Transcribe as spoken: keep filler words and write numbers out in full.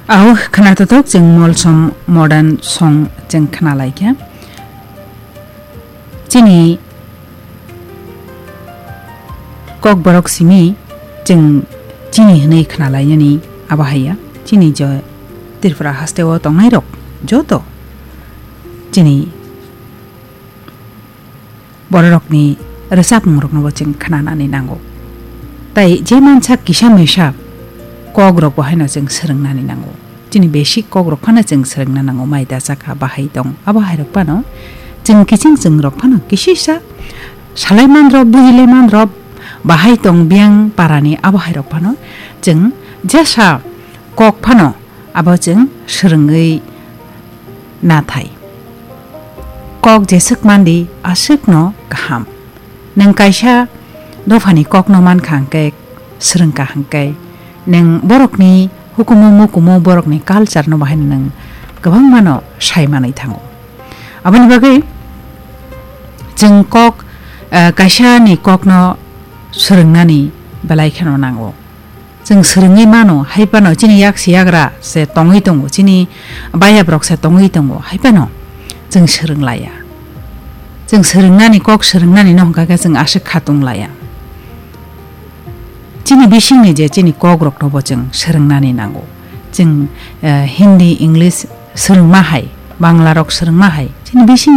Au khna totok chwng molsom modern song chwng khna lai kha. Chini kok borok simi chwng chini hwnwi khna lainani abo haiya. Chini jo Tripura haste o tongnai rok joto chini bororokni rwchapmungroknobo chwng khnanani nango. Tai je mansa kisa misa kokrokbo haino chwng swrwngnani nango. Chini basic kokrok phano chwng swrwngna nango, mai da chakha, bahai tong, abo hairok phano chwng kiching chwng rok phano kisisa salaimanrok, bujilamanrok, bahai tong biyang parani abo hairok phano chwng jesa kok phano abo chwng swrwngwi nathai. Kok jeswk mandi aswkno kaham. Nwng kaisa dophani kokno mankha hwnkhe, swrwngkha hwnkhe, nwng borokni hukumu mukumu borokni culture-no bahaino nwng kwbangmano sai manwi thango. Aboni bagwi chwng kok, eh, kaisani kokno swrwngnani belai kheno nango. Chwng swrwngwi mano, hai phano chini yak si yagra se tongwi tongo, chini bayabrok se tongwi tongo, hai phano chwng swrwng laya. Chwng swrwngnani, kok swrwngnani no hwnkha khe chwng aswk khatung laya. Chini bisingni je chini kokrokno bo chwng swrwngnani nango. Chwng, eh, Hindi, English swrwngma hai, Bangla rok swrwngma hai, chini bising